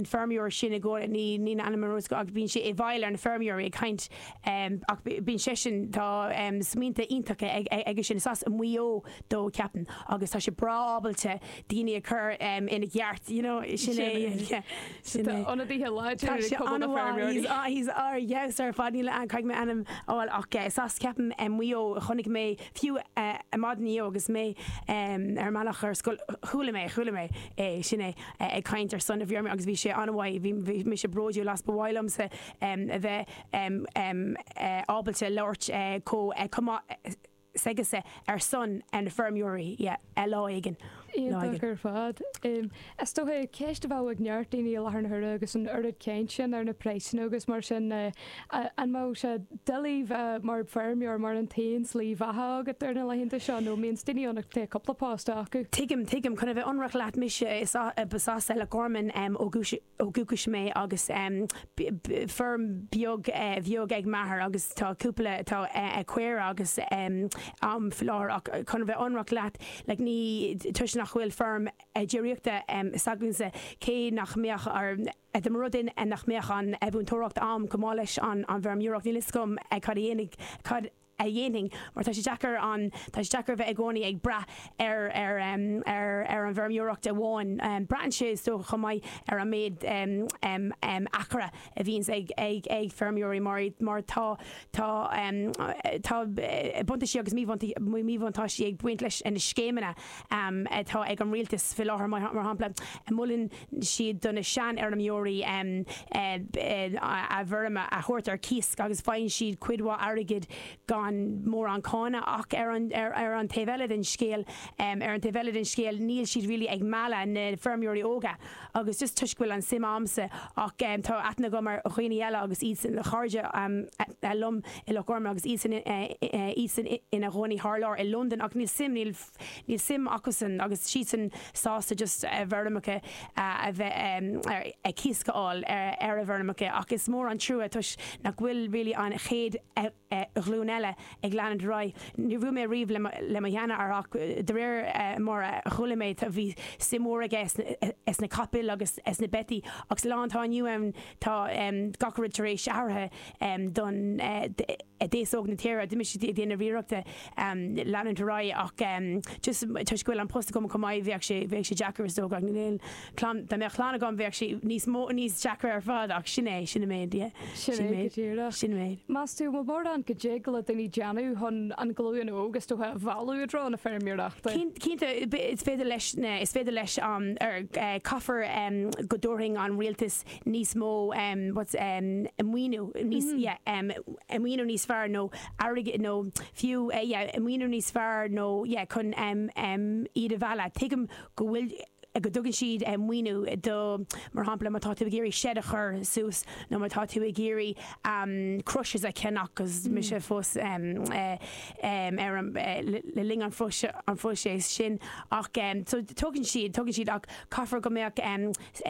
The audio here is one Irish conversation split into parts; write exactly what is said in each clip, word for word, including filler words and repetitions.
an feirmeoir sin i gcónaí ní ní ainm ach bíonn sé i bhfeighil ar na feirmeoirí ag caint um, ach bíonn sé sin tá um, smaointe iontacha ag ag sin as Maigh Eo dó ceapaim agus tá sé breá ábalta daoine a chur um, ina gceart you know, sin é ionadaithe láidir He's ar yes ar fad níl an caithfidh mé ainm fháil ach sas ceapaim Maigh Eo chonaic mé fiú maidin agus mé ar mbealach ar scoil chuala mé chuala mé é sin é ag caint ar son na bhfeirmeoirí agus bhí sé an-mhaith bhí mise bródúil as ba mhaith liomsa a bheith ábalta labhairt chomh s'aige ar son na feirmeoirí lá éigin. Iontach ar fad. Is dócha ceist a bheadh ag neart daoine i láthair na huaire agus an oiread cainte sin ar na praghsanna agus mar sin an mbeadh sé doiligh bheith mar feirmeoir mar an t-aon slí bheatha agat ar na laethanta seo nó mbíonn daoine ann tá cúpla post acu. Tuigim tuigim chun a bheith ionraic leat mise is as Loch Garman ó dhúchas mé agus feirm beag bheag ag m'athair agus tá cúpla tá caora agus am láthair ach chun a bheith ionraic leat le ní toisc nach bhfuil feirm déiríochta s'againne cé nach mbeadh ar de rud nach mbeadh an mhúinteoireacht am go maith leis an an bhfeirmeoireacht níl a fhios agam cad a dhéanfaidh cad a dhéanfainn mar tá sé deacair an tá sé deacair bheith i gcónaí ag brath ar ar ar ar an bhfeirmeoireacht amháin braitheann sé so chomh maith ar an méid acra a bhíonns ag ag ag feirmeoirí mar mar tá tá tá buntáistí agus míbhuntáistí ag baint leis na scéimeanna atá ag an rialtas faoi láthair mar shampla molann siad do na seanfheirmeoirí a bhfeirm a thabhairt ar cíos agus faigheann siad cuid mhaith airgid gan mórán cáin ach ar an ar, ar an taobh eile den scéal um, ar an taobh eile den scéal níl siad really ag mealladh na feirmeoirí óga agus just toisc go bhfuil an suim a'msa ach um, tá aithne agam ar dhaoine eile agus iad san chairde um, liom i Loch Garman agus iad san iad san ina gcónaí thar lear i London ach níl suim níl níl suim acusan agus siad san sásta just a bhfeirmeacha a bheith ar cíos a fháil ar ar a bhfeirmeacha ach is mór an trua toisc nach bhfuil really an chéad ghlúin eile ag leanúint ar aghaidh. Ní raibh mé riamh le mo sheanathair ach de réir mar a chuala mé bhí suim mhór aige sna capaill agus sna beithígh agus lá atá inniu ann tá gach rud tar éis athraithe don d'aos óg na tíre d'imigh siad ag déanamh iarrachta leanúint ar aghaidh ach just toisc go bhfuil an post agam chomh maith bheadh sé bheadh sé deacair is dócha níl clann dá mbeadh clann agam bheadh sé níos mó níos deacra ar fad ach sin é sin méid Sin é go díreach. sin méid. Meas tú bhfuil mórán go dtig le daoine déanamh chun an glúin óg is dócha a mhealladh i dtreo na feirmeoireachta. Cinnte is féidir leis is féidir leis um, ar uh, caithfear um, go dtabharfaidh an rialtas níos mó um, what's, um, maoiniú níos mm -hmm. yeah, um, maoiniú níos fearr nó airgead nó fiú uh, yeah, maoiniú níos fearr nó yeah, chun um, um, iad a mhealladh. Tuigim go bhfuil go dtugann siad um, maoiniú do mar shampla má tá tú ag iarraidh shed a chur suas nó má tá tú ag iarraidh um, crushers a cheannach agus mm. mise fós um, uh, um, ar an uh, le linn an an phróiseas sin ach um, so tugann siad tugann siad ach caithfear go mbeadh um,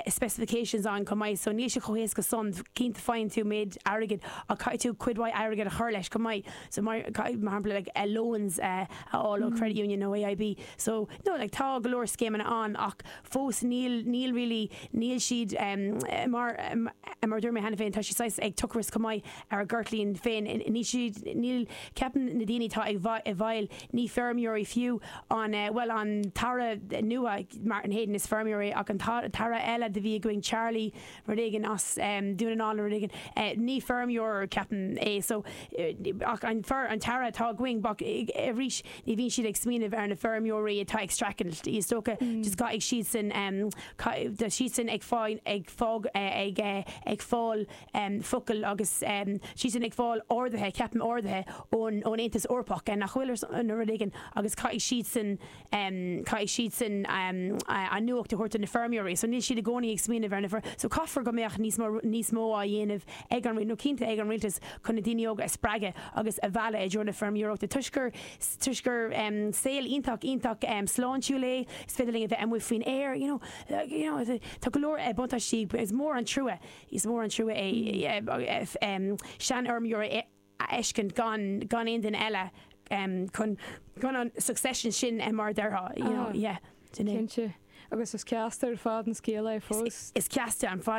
specifications an chomh maith so níl sé chomh héasca san cinnte faigheann tú méid airgid ach caithfidh tú cuid mhaith airgid a chur leis chomh maith so mar mar shampla like, uh, loans uh, a fháil ó mm. credit union nó AIB so no like tá go leor scéimeanna ann ach fós níl níl really níl siad um, mar um, mar dúirt mé cheana féin tá si ag turas chomh maith ar a gceirtlín féin ní siad níl ceapaim na daoine tá ag i bhfeighil ní feirmeoirí fiú an uh, well an tAire nua Martin Heydon is feirmeoir ach an tAire eile de bhí going Charlie rud éigin as um, Dún na rud éigin uh, ní feirmeoir ceapaim é so uh, ach an fer an tAire atá againn arís ní bhíonn siad ag smaoineamh ar na feirmeoirí atá ag streachailt is dócha mm. just ag siad sin um, siad sin ag fáin ag fág ag ag fáil um, focal agus um, siad sin ag fáil orduithe ceapaim orduithe ón ón Aontas Eorpach en nach bhfuil an rud éigin agus caithfidh siad sin um, caithfidh siad sin um, an nuacht a thabhairt na feirmeoirí, so níl siad i gcónaí ag smaoineamh ar na fer so caithfear go mbeadh níos mó níos mó á dhéanamh ag an nó cinnte ag an rialtas chun na daoine óga a spreagadh agus a mhealladh i dtreo na feirmeoireachta toisc gur toisc gur um, saol iontach iontach um, sláintiúil é is féidir linn a bheith amuigh faoin aer you know, you know, tá go leor buntáistí is mór an trua is mór an trua é um, seanfheirmeoir a fheiscint gan gan aon duine eile um, chun chun an succession sin mar déarfá you know, yeah, Cinnte. Agus is ceasta ar fad an scéal é fós. Is ceasta an fad